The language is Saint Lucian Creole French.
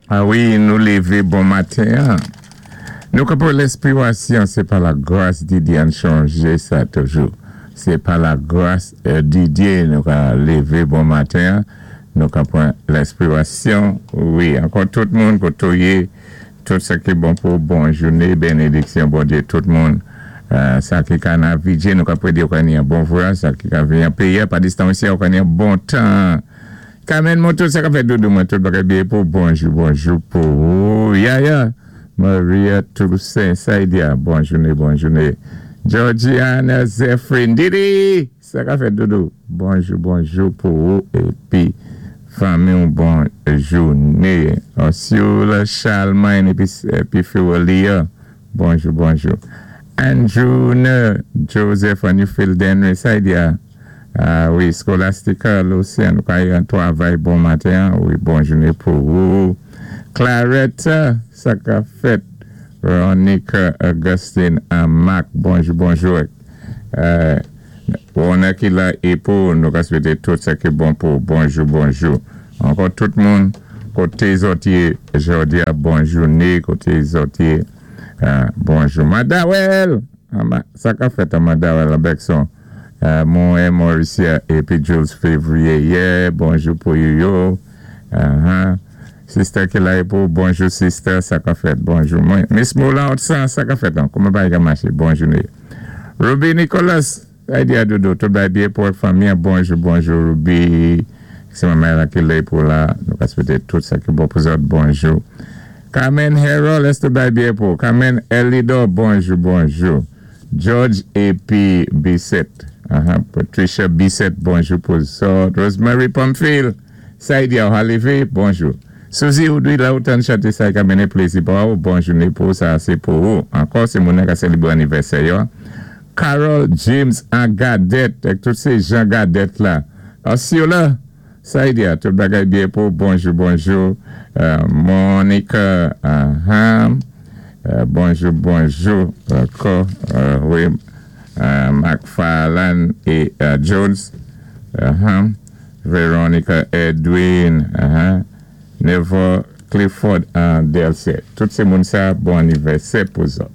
A wi, nou lévé bon maten. Nou ka pwan lenspiwasyon, sé pa la gras di Dye, ann chanjé sa toujou. Sé pa la gras di Dye nou ka lévé bon maten, nou ka pwan lenspiwasyon. Wi, ankò tout moun koté ou yé, tout sa ki bon pou bon jouné, bénédiksyon Bondyé tout moun. Sa ki ka navigé, nou ka prédi ou ka ni yon bon vwayaj, sa ki ka vini an péyi, pa distans isi, ou ka ni yon bon tan. Carmen Moto, sa ka fèt doudou mwen, tout bagay byen pou bonjou, bonjou pou ou. Yaya, Maria Toussaint, Saidia, bon jouné, bon jouné. Georgiana Zephyrin, Didi, sa ka fèt doudou, bonjou, bonjou pou ou, épi fanmi ou bon jouné. Ursula Charlemagne, épi Fiwelia, bonjou, bonjou. Andrew Joseph, Anifil Denry, Saidia, a wi, Scholastica Lucien, nou ka yon twavay bon maten, wi, bon jouné pou ou. Clarette, sa ka fèt. Veronica Augustine Mac, bonjou, bonjou. On ki la é pou nou ka swété tout sa ki bon pou bonjou, bonjou. Ankò tout moun, koté zòt yé jòdi a, bon jouné, koté zòt yé, bonjou. Madawel, sa ka fèt a Madawel Abekson. Mwen Mauricia épi Jules Février, yeah, bonjou pou yo. Sister ki la pou bonjou sister, sa ka fèt, bonjou. Mwen, Miss Moulin Otsan, sa ka fèt an, kouman bagay ka maché, bon jouné. Ruby Nicholas, ay di a doudou, tout bagay byen pou fanmi, bonjou, bonjou Ruby. Sé manman la ki la pou la, nou ka swété tout sa ki bon pou zòt, bonjou. Carmen Harold, èske tout bagay byen pou? Carmen Elido, bonjou, bonjou. George A.P. Bissett, Patricia Bissett, bonjou pou zòt. Rosemary Pamphile, Saidia Halivé, bonjou. Suzy Oudouy, la ou tann chanté sa ka mennen plézi pou ou, bon jouné pou sa, sé pou ou. Ankò, sé moun ka sélébwé anivèsè yo. Carol James an Gadet, ak tout sé Jean Gadet la. Osceola, Saidia, tout bagay byen pou bonjou, bonjou. Monica, bonjou, bonjou. Ankò, wi, McFarlane et Jones. Veronica Edwin, Nevo Clifford en Delce. Tout sé moun sa, bon anivèsè pou zòt.